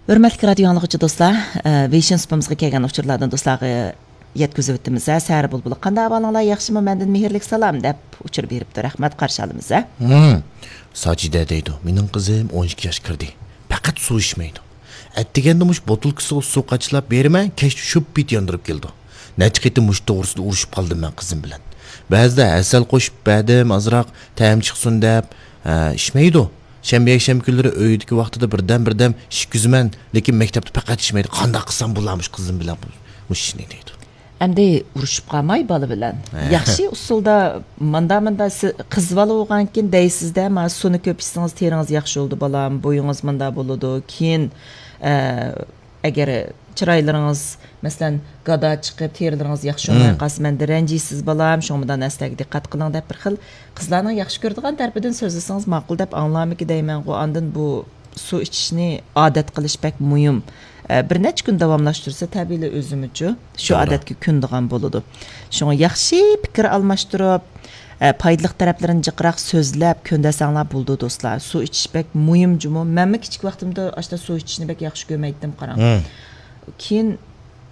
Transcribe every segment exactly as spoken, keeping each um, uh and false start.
ھۆرمەتلىك رادىيو ئاڭلىغۇچى دوستلار، ئە، ۋېيشىن سۇپىمىزغا كەلگەن ئۇچۇرلاردىن دوستلارغا يەتكۈزۈۋېتىمىز. ھە، سەھەر بۇلبۇلى، قانداق ئەھۋالىڭلار، ياخشىمۇ؟ مەندىن مېھىرلىك سالام دەپ ئۇچۇر بېرىپتۇ. رەھمەت، قارشى ئالىمىز، ھە؟ ھىم. ساجىدە دەيدۇ، مېنىڭ قىزىم ئون ئىككى ياش كىردى. پەقەت سۇ ئىچمەيدۇ. ئەتىگەندە مۇشۇ بوتۇلكىسىغا سۇ قاچىلاپ بېرىمەن، كەچتە شۇپپىت ياندۇرۇپ كېلىدۇ. نەچچە قېتىم مۇشۇ توغرىسىدا ئۇرۇشۇپ قالدىم مەن قىزىم بىلەن. بەزىدە ھەسەل قوشۇپ بەردىم، ئازراق تەم چىقسۇن دەپ، ھە، ئىچمەيدۇ. شەنبە، يەكشەنبە كۈنلىرى ئۆيدىكى ۋاقتىدا بىردەم-بىردەم ئىچكۈزىمەن، لېكىن مەكتەپتە پەقەت ئىچمەيدۇ. قانداق قىلسام بولامىش قىزىم بىلەن بۇ، مۇشۇ ئىشنى دەيدۇ. ئەمدى ئۇرۇشۇپ قالماي بالا بىلەن. ھە. ياخشى ئۇسۇلدا ماندا-ماندا سى-، قىز بالا بولغانكىن دەيسىز-دە، ما سۇنى كۆپ ئىچسىڭىز تېرىڭىز ياخشى بولىدۇ بالام، بويىڭىز ماندا بولىدۇ. كېيىن، ئە، ئەگەر چىرايلىرىڭىز، مەسىلەن، گادا چىقىپ، تېرىلىرىڭىز ياخشى بولماي مم. قالسا، مەندىن رەنجىيسىز، بالام، شۇڭا مۇنداق نەرسىلەرگە دىققەت قىلىڭ دەپ، بىر خىل قىزلارنىڭ ياخشى كۆرىدىغان تەرىپىدىن سۆزلىسىڭىز ماقۇل دەپ ئاڭلارمىكى دەيمەنغۇ. ئاندىن بۇ سۇ ئىچىشنى ئادەت قىلىش بەك مۇھىم. ئە، بىر نەچچە كۈن داۋاملاشتۇرسا، تەبىئىيلا ئۆزىمىچۇ شۇ توغرا. ئادەتكە كۆنىدىغان بولىدۇ. شۇڭا ياخشى پىكىر ئالماشتۇرۇپ، ئە، پايدىلىق تەرەپلىرىنى جىقراق سۆزلەپ، كۆندەرسەڭلار بولىدۇ، دوستلار. سۇ ئىچىش بەك مۇھىم جۇمۇ. مەنمۇ كىچىك ۋاقتىمدا ئاشتا سۇ ئىچىشنى بەك ياخشى كۆرمەيتتىم، قاراڭ. مم. كېيىن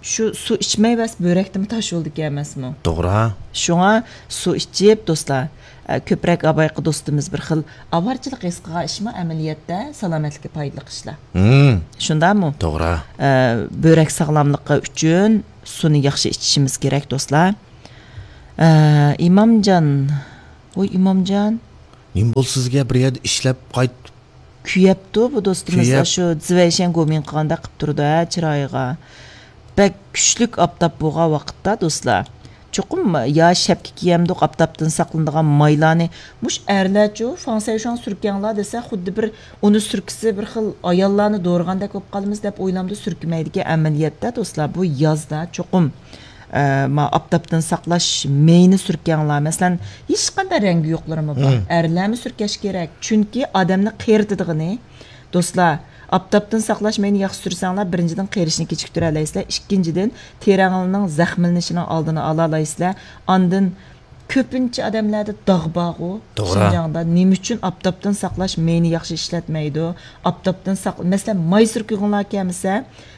شۇ سۇ ئىچمەي بەس بۆرەكتىمۇ تاش بولىدىكەن ئەمەسمۇ؟ توغرا. شۇڭا سۇ ئىچىپ، دوستلار، ئە، كۆپرەك ئاۋايقى دوستىمىز بىر خىل ئاۋارىچىلىق ھېس قىلغان ئىشمۇ ئەمەلىيەتتە سالامەتلىككە پايدىلىق ئىشلار. مم. شۇنداقمۇ؟ توغرا. ئە، بۆرەك ساغلاملىقى ئۈچۈن سۇنى ياخشى ئىچىشىمىز كېرەك، دوستلار. ئە، ئىمامجان. ۋوي، ئىمامجان. نېمە بولدى سىزگە؟ بىر يەردە ئىشلەپ قايت. كۆيەپتۇ بۇ دوستىمىز، كۆيەپ. شۇ زىۋەيشەن گومىڭ قىلغاندەك قىپ تۇرىدۇ، ھە، چىرايىغا. بەك كۈچلۈك ئاپتاپ بولغان ۋاقىتتا، دوستلار، چوقۇم يا شەپكە كىيەمدۇق، ئاپتاپتىن ساقلىنىدىغان مايلارنى. مۇش ئەرلەرچۇ، فاڭسەيشۇاڭ سۈركەڭلار دېسە، خۇددى بىر ئۇنى سۈركىسە بىر خىل ئاياللارنى دورىغاندەك بولۇپ قالىمىز دەپ ئويلامدا سۈركىمەيدىكەن. ئەمەلىيەتتە، دوستلار، بۇ يازدا چوقۇم ئە، ما ئاپتاپتىن ساقلاش مېيىنى سۈركەڭلار. مەسىلەن، ھېچقانداق رەڭگى يوقلىرىمۇ بار. مم. ئەرلەرمۇ سۈركەش كېرەك. چۈنكى ئادەمنى قېرىتىدىغىنى، دوستلار، ئاپتاپتىن ساقلاش مېيىنى ياخشى سۈرسەڭلار، بىرىنچىدىن، قېرىشنى كېچىكتۈرەلەيسىلەر. ئىككىنچىدىن، تېرەڭلارنىڭ زەخىملىنىشىنىڭ ئالدىنى ئالالايسىلەر. ئاندىن كۆپىنچە ئادەملەردە داغ بارغۇ، توغرا. شىنجاڭدا. نېمە ئۈچۈن ئاپتاپتىن ساقلاش مېيىنى ياخشى ئىشلەتمەيدۇ؟ ئاپتاپتىن ساق-، مەسىلەن، ماي سۈركىگۈڭلار كەلمىسە،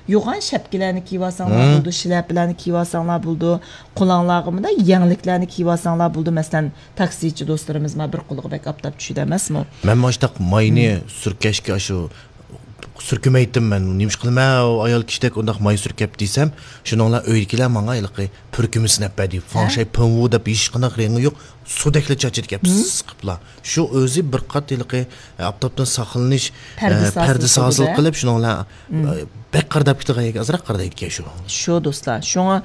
يوغان شەپكىلەرنى كىيىۋالساڭلار مم. بولىدۇ، شىلەپىلەرنى كىيىۋالساڭلار بولىدۇ، قولۇڭلارغا مۇنداق يەڭلىكلەرنى كىيىۋالساڭلار بولىدۇ. مەسىلەن، تاكسىچى دوستلىرىمىز ما بىر قولىغا بەك ئاپتاپ چۈشىدۇ ئەمەسمۇ؟ مەن ماشتاق ماينى مم. سۈركەشكە ئاشۇ سۈركىمەيتتىم مەن. نېمىش قىلىمەن، ئۇ ئايال كىشىدەك ئۇنداق ماي سۈركەپ دېسەم، شۇنىڭلا ئۆيدىكىلەر ماڭا ھېلىقى پۈركۈمە سىناپ بەردى. ھە؟ فاڭشەي پېڭۋۇ دەپ ھېچقانداق رېڭى يوق، سۇدەكلا چاچىدىكەن، مم. پىس قىپلا. شۇ ئۆزى بىر قات ھېلىقى، ئە، ئاپتاپتىن ساقلىنىش، پەردىسى ئە، ھاسىل پەردىسى ھاسىل قىلدى-دە. قىلىپ، شۇنىڭ بىلەن، مم. ئە، بەك قارىداپ كېتىدىغان يەرگە ئازراق قارىدايدىكەن شۇ. شۇ دوستلار، شۇڭا،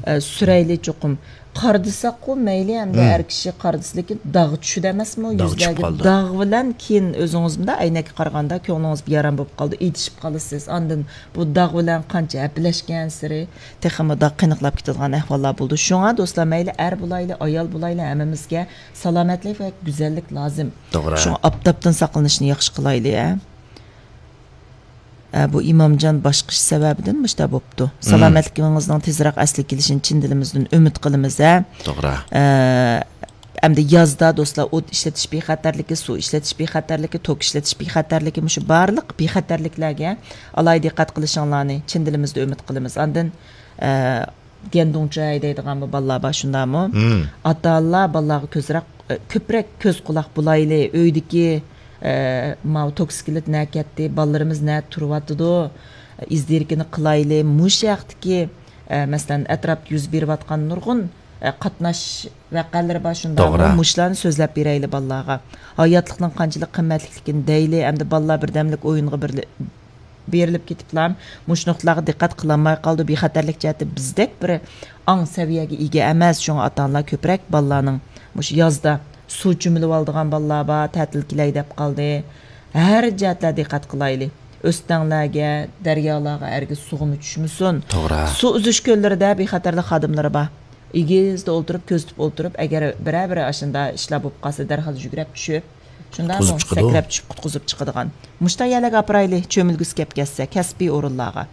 ئە، سۈرەيلى چوقۇم. قارىدىساققۇ مەيلى، ئەمدى مم. ئەر كىشى قارىدىسا، لېكىن داغ چۈشىدۇ ئەمەسمۇ؟ داغ چۈشۈپ يۈزلەرگە قالىدۇ. داغ بىلەن كېيىن ئۆزىڭىز مۇنداق ئەينەككە قارىغاندا كۆڭلىڭىز بىئارام بولۇپ قالىدۇ، ئېتىشىپ قالىسىز. ئاندىن بۇ داغ بىلەن قانچە ھەپىلەشكەنسېرى تېخىمۇ داغ قېنىقلاپ كېتىدىغان ئەھۋاللار بولىدۇ. شۇڭا دوستلار، مەيلى ئەر بولايلى، ئايال بولايلى، ھەممىمىزگە سالامەتلىك ۋە گۈزەللىك لازىم. توغرا. شۇڭا ئاپتاپتىن ساقلىنىشنى ياخشى قىلايلى، ھە. ئە، بۇ ئىمامجان باشقا ئىش سەۋەبىدىن مۇشۇنداق بوپتۇ. مم. سالامەتلىكىڭىزنىڭ تېزرەك ئەسلىگە كېلىشىنى چىن دىلىمىزدىن ئۈمىد قىلىمىز، ھە. توغرا. ئە، ئەمدى يازدا دوستلار، ئوت ئىشلىتىش بىخەتەرلىكى، سۇ ئىشلىتىش بىخەتەرلىكى، توك ئىشلىتىش بىخەتەرلىكى، مۇشۇ بارلىق بىخەتەرلىكلەرگە ئالاھىدە دىققەت قىلىشىڭلارنى چىن دىلىمىزدىن ئۈمىد قىلىمىز. ئاندىن، ئە، ديەندۇڭچاي دەيدىغان بۇ بالىلار بار، شۇنداقمۇ؟ مم. ئاتا-ئانىلار بالىلارغا كۆزرەك، ئە، كۆپرەك كۆز-قۇلاق بولايلى. ئۆيدىكى، ئە، ماۋۇ توكسىكلىت نە كەتتى، بالىلىرىمىز نە تۇرۇۋاتىدۇ، ئىز دېرىكىنى قىلايلى. مۇشۇ ھەقتىكى، ئە، مەسىلەن، ئەتراپتا يۈز بېرىۋاتقان نۇرغۇن، ئە، قاتناش ۋەقەلىرى بار، شۇنداقمۇ؟ توغرا. مۇشۇلارنى سۆزلەپ بېرەيلى بالىلارغا. ھاياتلىقنىڭ قانچىلىك قىممەتلىكلىكىنى دەيلى، ئەمدى بالىلار بىردەملىك ئويۇنغا بىرلە-، بېرىلىپ كېتىپلا مۇشۇ نۇقتىلارغا دىققەت قىلالماي قالىدۇ. بىخەتەرلىك جەھەتتە بىزدەك بىر ئاڭ سەۋىيەگە ئىگە ئەمەس، شۇڭا ئاتا-ئانىلار كۆپرەك بالىلارنىڭ مۇشۇ يازدا سۇ چۆمۈلۈۋالىدىغان بالىلار بار، تەتىل كېلەي دەپ قالدى. ھەر جەھەتلەردە دىققەت قىلايلى. ئۆستەڭلەرگە، دەريالارغا ھەرگىز سۇغىمۇ چۈشمىسۇن. توغرا. سۇ ئۈزۈش كۆللىرىدە بىخەتەرلىك خادىملىرى بار. ئېگىزدە ئولتۇرۇپ، كۆزىتىپ ئولتۇرۇپ، ئەگەر بىرەر-بىرەر ئاشۇنداق ئىشلار بولۇپ قالسا، دەرھال يۈگرەپ چۈشۈپ، شۇنداقمۇ؟ قۇتقۇزۇپ چىقىدۇ. سەكرەپ چۈشۈپ قۇتقۇزۇپ چىقىدىغان. مۇشۇنداق يەرلەرگە ئاپىرايلى، چۆمۈلگۈسى كەپ كەتسە، كەسپىي ئورۇنلارغا.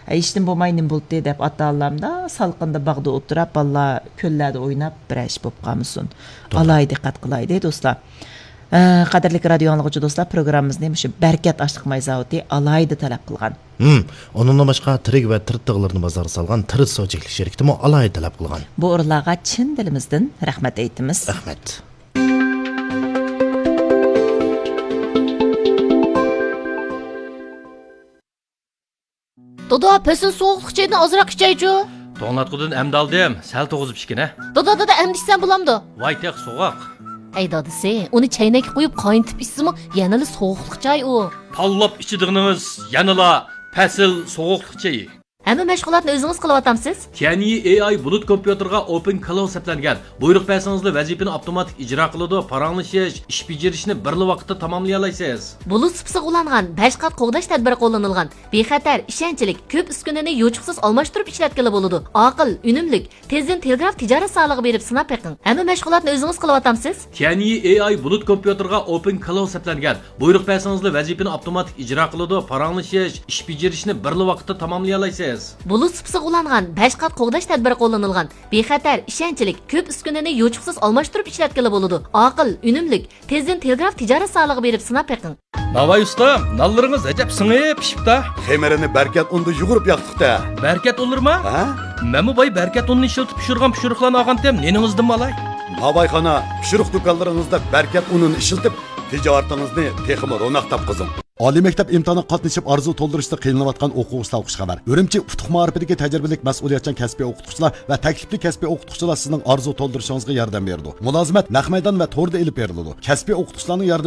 ھە، ھېچنېمە بولماي نېمە بولدى دەپ، ئاتا-ئانىلارمۇ سالقىندا باغدا ئولتۇرۇپ، بالىلار كۆللەردە ئويناپ، بىرەر ئىش بولۇپ قالمىسۇن. توغرا. ئالاھىدە دىققەت قىلايلى، دوستلار. ئە، قەدىرلىك رادىيو ئاڭلىغۇچى دوستلار، پروگراممىمىزنى مۇشۇ بەرىكەت ئاشلىق ماي زاۋۇتى ئالاھىدە تەلەپ قىلغان. ھىم، ئۇنىڭدىن باشقا تىرىك ۋە تىرتىغلىرىنى بازارغا سالغان تىرىت سۇ چەكلىك شىركىتىمۇ ئالاھىدە تەلەپ قىلغان. بۇ ئورۇنلارغا چىن دىلىمىزدىن رەھمەت ئېيتىمىز. رەھمەت. دادا، پەسىل سوغۇقلۇق چايدىن ئازراق ئىچەيچۇ. توڭلاتقۇدىن ئەمدى ئالدىم، سەل توغۇزۇپ ئىچكىنە. دادا، دادا، ئەمدى ئىچسەم بولامدۇ؟ ۋاي تېخى سوغۇق. ئەي دادىسى، ئۇنى چەينەككە قويۇپ قاينىتىپ ئىچسىمۇ يەنىلا سوغۇقلۇق چاي ئۇ. پاللاپ ئىچىدىغىنىڭىز يەنىلا پەسىل سوغۇقلۇق چېيى. ھەممە مەشغۇلاتنى ئۆزىڭىز قىلىۋاتامسىز؟ تيەنيى ئېي ئاي بۇلۇت كومپيۇتېرغا ئوپېن كلاۋ سەپلەنگەن. بۇيرۇق بەرسىڭىزلا ۋەزىپىنى ئاپتوماتىك ئىجرا قىلىدۇ، پاراڭلىشىش، ئىش بېجىرىشنى بىرلا ۋاقىتتا تاماملىيالايسىز. بۇلۇت سۇپىسىغا ئۇلانغان بەش قات قوغداش تەدبىرى قوللىنىلغان. بىخەتەر، ئىشەنچلىك، كۆپ ئۈسكۈنىنى يوچۇقسىز ئالماشتۇرۇپ ئىشلەتكىلى بولىدۇ. ئاقىل، ئۈنۈملۈك. تېزدىن تېلېگراف تىجارەت زالىغا بېرىپ سىناپ بېقىڭ. ھەممە مەشغۇلاتنى ئۆزىڭىز قىلىۋاتامسىز؟ تيەنيى ئېي ئاي بۇلۇت كومپيۇتېرغا ئوپېن كلاۋ سەپلەنگەن. بۇيرۇق بەرسىڭىزلا ۋەزىپىنى ئاپتوماتىك ئىجرا قىلىدۇ، پاراڭلىشىش، ئىش بېجىرىشنى بىرلا ۋاقىتتا تاماملىيالايسىز. بۇلۇت سۇپىسىغا ئۇلانغان بەش قات قوغداش تەدبىرى قوللىنىلغان. بىخەتەر، ئىشەنچلىك، كۆپ ئۈسكۈنىنى يوچۇقسىز ئالماشتۇرۇپ ئىشلەتكىلى بولىدۇ. ئاقىل، ئۈنۈملىك. تېزدىن تېلېگراف تىجارەت زالىغا بېرىپ سىناپ بېقىڭ. ناۋاي ئۇستام، نانلىرىڭىز ئەجەب سىڭىپ پىشىپتا. خېمىرىنى بەركەت ئۇندا يۇغۇرۇپ ياقتۇق-دە. بەركەت ئۇنلىرىما؟ ھە؟ مەنمۇ باي بەركەت ئۇنىنى ئىشلىتىپ پىشۇرغان پىشۇرۇقلارنى ئالغانتىم، نېنىڭىزدىنمۇ ئالاي؟ ناۋايخانا، پىشۇرۇق دۇكانلىرىڭىزدا بەركەت ئۇنىنى ئىشلىتىپ، تىجارىتىڭىزنى تېخىمۇ روناق تاپقۇزۇڭ. ئالىي مەكتەپ ئىمتىھانىغا قاتنىشىپ ئارزۇ تولدۇرۇشتا قىينىلىۋاتقان ئوقۇغۇچىلارغا خۇش خەۋەر. ئۈرۈمچى ئۇتۇق مائارىپىدىكى تەجرىبىلىك مەسئۇلىيەتچان كەسپىي ئوقۇتقۇچىلار ۋە تەكلىپلىك كەسپىي ئوقۇتقۇچىلار سىزنىڭ ئارزۇ تولدۇرۇشىڭىزغا ياردەم بېرىدۇ. مۇلازىمەت نەق مەيدان ۋە توردا ئېلىپ بېرىلىدۇ. كەسپىي ئوقۇتقۇچىلارنىڭ ياردىمى